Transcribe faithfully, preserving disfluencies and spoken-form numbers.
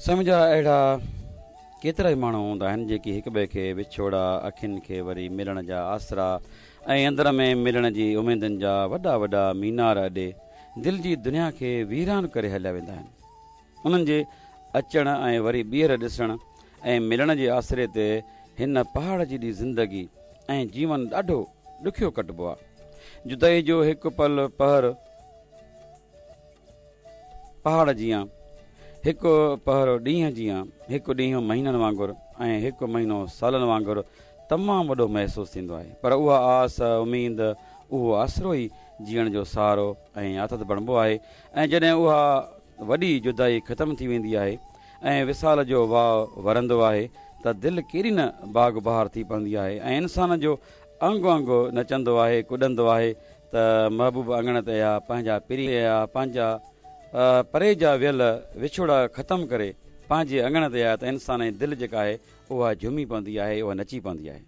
سمجها اهڙا ڪيترائي ماڻهو هوندا آهن جيڪي هڪٻئي کي وڇوڙا، اکين کي وري ملڻ جا آسرا ۽ اندر ۾ ملڻ جي اميدن جا وڏا وڏا مينار اڏي دل جي دنيا کي ويران ڪري هليا ويندا آهن. انهن جي اچڻ ۽ وري ٻيهر ڏسڻ ۽ ملڻ جي آسري تي هن پهاڙ جيڏي زندگي ۽ جيون ڏاڍو ڏکيو ڪٽبو آهي. جدائي جو هڪ پل پهر پهاڙ جيان، هڪ پهر ڏينهن جيان، هڪ ڏينهن مهينن وانگر ۽ هڪ مهينو سالن وانگر تمام وڏو محسوس ٿيندو آهي. پر اها آس، اميد، اهو آسرو ئي جيئڻ جو سهارو ۽ آٿت بڻبو آهي ۽ جڏهن اها وڏي جدائي ختم ٿي ويندي آهي ۽ وصال جو واء ورندو آهي ته دل ڪيڏي نه باغ بهار ٿي پوندي آهي ۽ انسان جو انگ انگ نچندو آهي، ڪڏندو آهي ته محبوب اڱڻ تي آيا، پنهنجا پرين آيا، پنهنجا پري جا ويل وڇوڙا ختم ڪري پنهنجي اڱڻ تي آيا ته انسان جي دل جيڪا آهي اها جهومي پوندي آهي، اها نچي پوندي آهي.